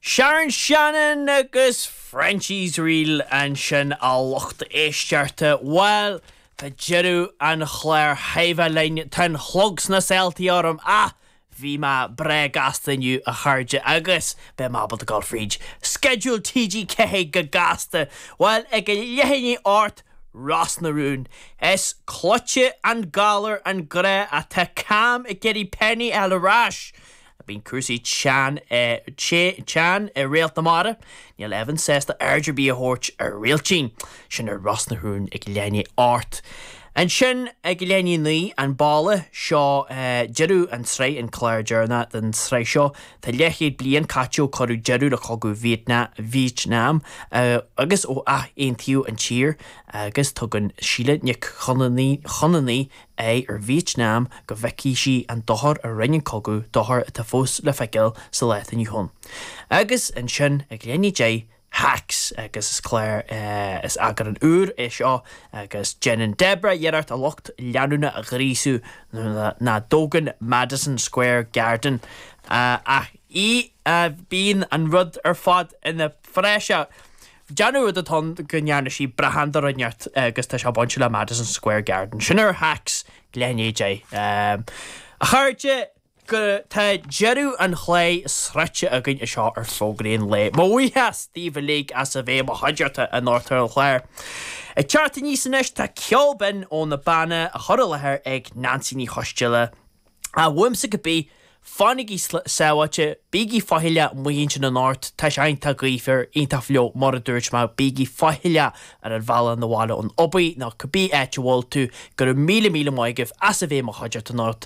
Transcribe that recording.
Sharon Shannon agus Frenchie's Reel ansin a lucht éisteachta. Bhuel, tá deireadh an chláir thaibhe linn, tá an clog sna saoltaí orm ach bhí mé breá gasta inniu a chairde agus beidh mé ábalta dul fríd sceideal TG4 go gasta. Bhuel, ag a leath i ndiaidh 8, Ros na Rún. Is cloíte an galar an grá ach tá Cam ag iarraidh Penny a fháil ar ais. Bíonn cúrsaí teann teann i Réalt na Mara. Níl Evan sásta aird ar bith a thabhairt ar Réiltín. Sin ar Ros na Rún ag leath i ndiaidh 8. Ansin ag leath i ndiaidh 9, An Balla, seo deireadh an tsraith, an clár deireanach den tsraith seo. Tá leathchéad bliain caite ó cuireadh deireadh le cogadh Vítneam agus ó athaontaíodh an tír agus tugann Síle Nic Chonamhnaigh aghaidh ar Vítneam go bhfeicfidh sí an dochar a rinne an cogadh, dochar atá fós le feiceáil sa lá atá inniu ann. Agus ansin, ag leath i ndiaidh 10, Hacks, agus is clár, is eagrán úr é seo agus déanann Deborah iarracht a lucht leanúna a ghríosú nuair nach dtógann Madison Square Garden ach í, bíonn an rud ar fad ina phraiseach. Déanamh rud atá ann go ndearna sí brachán de rud inteacht agus tá sé bainte le Madison Square Garden. Sin ar Hacks leath i ndiaidh 10. A chairde, go tá deireadh an chláir sroichte againn anseo ar Fógraí an Lae. Mo bhuíochas daoibh uilig as a bheith i mo chuideachta anocht ar an chlár. Ag teacht aníos anois tá ceol binn ó na Beanna á chur i láthair ag Neansaí Ní Choisdealbha. Ach uaimse cibé, fanaigí sábháilte, bígí faichilleach amuigh ansin anocht, tá sé iontach gaofar, iontach fliuch, mar a dúirt mé, bígí faichilleach ar an bhealach 'na bhaile ón obair nó cibé áit a bhfuil tú. Go raibh míle míle maith agaibh as a bheith i mo chuideachta anocht.